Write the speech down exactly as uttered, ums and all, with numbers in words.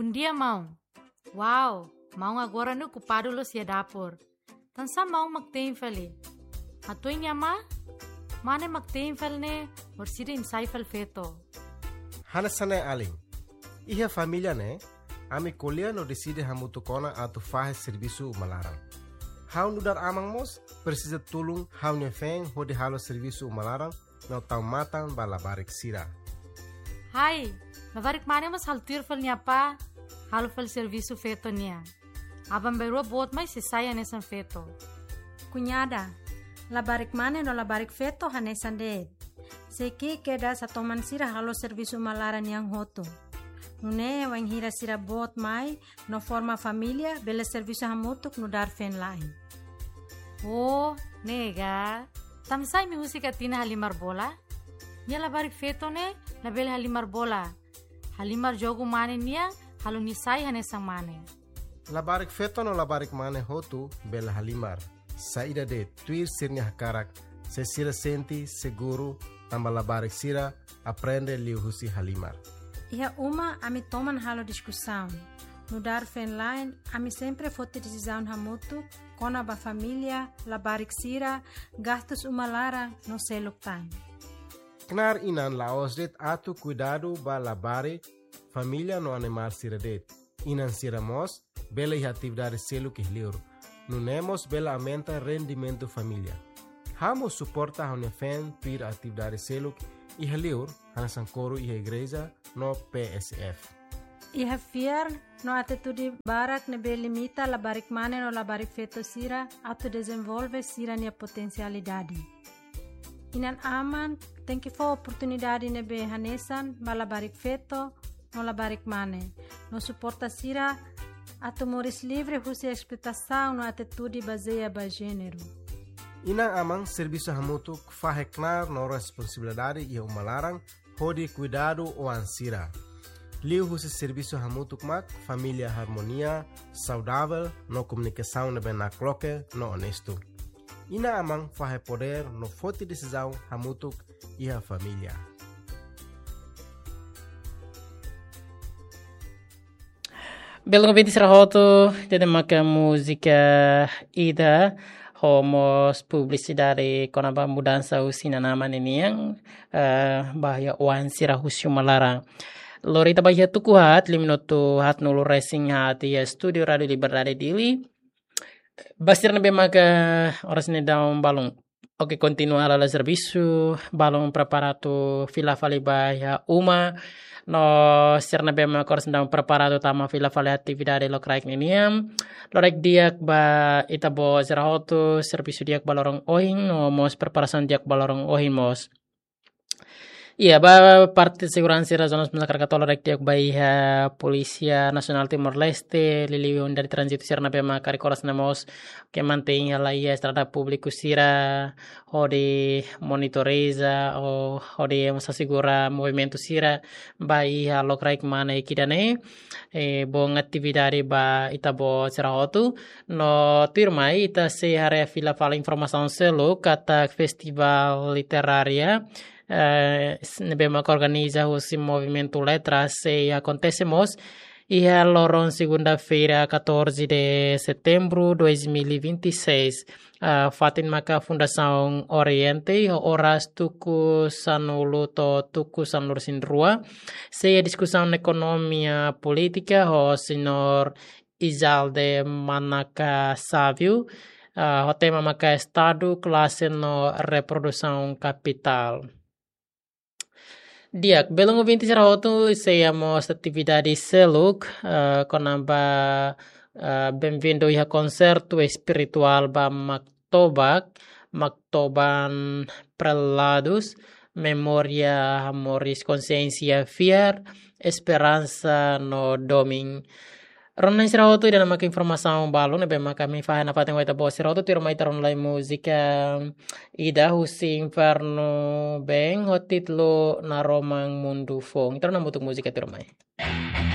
Bondia, maun. Wow, maun agora ne'e okupadu loos iha dapur. Tansá maun mak te'in fali? Hatudu nia amá, mane mak te'in fali ne'e, orsida imi sai fali feto. Hanesan ne'e alin. Iha família ne'e, ami ko'alia no deside hamutuk ona atu fahe servisu uma laran. Ha'u nu'udar aman mós presiza tulun ha'u-nia feen hodi halo servisu uma laran no tau matan ba labarik sira. Hai, labarik mane mós halo tuir fali nia apá, halo fali servisu feto nian. Aban-bainrua boot mai sei sai hanesan feto. Kuñada, labarik mane no labarik feto hanesan de'it. Sei ki'ik kedas hatoman sira halo servisu uma laran nian hotu. Nune'e wainhira sira boot mai no forma família, bele servisu hamutuk nu'udar feen-la'en. Oh, ne'e ka. Tansá imi husik Atina halimar bola? Nia labarik feto ne'e labele halimar bola. Halimar jogu mane nian, halo nia sai hanesan mane. Labarik feto no labarik mane hotu bele halimar. Saida de'it, tuir sira-nia hakarak, se sira sente seguru, tanba labarik sira aprende liuhusi halimar. Iha uma ami toman halo diskusaun. Nu'udar feen-la'en, ami sempre foti desizaun hamutuk kona-ba família, labarik sira, gastus uma laran no seluk tan. Knaar inan la'ós de'it atu kuidadu ba labarik, família no animál sira de'it. Inan sira mós bele iha atividade seluk iha liur. Nune'e mós bele aumenta rendimentu família. Ha'u mós suporta ha'u-nia feen tuir atividade seluk iha liur, hanesan koru iha igreja no P S F. Iha fiar no atitude barak ne'ebé limita labarik mane no labarik feto sira atu dezenvolve sira-nia potensialidade. Inan-aman tenke fó oportunidade ne'ebé hanesan ba labarik feto no labarik mane, no suporta sira atu moris livre husi esploitasaun no atitude bazeia ba jéneru. Inan-aman servisu hamutuk fahe knaar no responsabilidade iha uma laran hodi kuidadu oan sira. Liuhusi servisu hamutuk mak família harmonia, saudavel no komunikasaun ne'ebé nakloke no onestu. Inan-aman fahe podér no foti desizaun hamutuk iha família. Belun ouvinte sira hotu, ida-ne'e maka múzika ida ho mós publisidade kona-ba mudansa husi inan-aman ninian, eh, ba iha oan sira husi uma laran. Lori ita ba iha tuku haat, liu minutu haatnulu resin haat iha estúdiu Rádiu Liberdade Dili. Ba sira ne'ebé maka oras ne'e daudaun balun. Oke, kontinua halo servisu, balun prepara atu fila fali ba iha uma. No sira ne'ebé maka oras ne'e daudaun prepara atu tama fila fali atividade lokraik ninian. Lokraik di'ak ba ita-boot sira hotu, servisu di'ak ba loron ohin, no mós preparasaun di'ak ba loron ohin mós. Iya, ba parte seguransa sira zona mós hakarak atu halo lokraik di'ak ba iha Polísia Nasionál Timor-Leste, liuliu unidade tránzitu sira ne'ebé maka karik oras ne'e mós ke mantein hela iha estrada públiku sira, hodi monitoriza, ou hodi mós asegura movimentu sira ba iha lokraik mane ida-ne'e, eh, boot atividade ba ita-boot sira hotu. No tuirmai ita sei haree fila fali informasaun seluk katak festivál literária, eh, s-, ne'ebé maka organiza husi Movimentu Letras sei akontese mós iha loron segunda-feira, catorze de setembro dois mil e vinte e seis. Ah, fatin maka Fundasaun Oriente, iha oras tuku sanulu to'o tuku sanulu-resin-rua. Sei iha diskusaun ekonomia polítika ho señór Izalde Manaka Savio, ah, ho tema maka Estadu, Klase no Reprodusaun Kapitál. Di'ak, belun ouvinte sira hotu, sei iha mós atividade seluk, eh, kona-ba, eh, benvindu iha konsertu espirituál ba Maktobak, Maktoban Preladus, Memória, Moris, Konsiénsia, Fiar, Esperansa no Domin. Rona sira hotu, ida-ne'e maka informasaun balun ne'ebé maka ami fahe nafatin ho ita-boot sira hotu, tuirmai ita rona lai múzika ida husi Infernu Band ho títulu Naroman Mundu Foun. Ita rona hamutuk múzika tuirmai.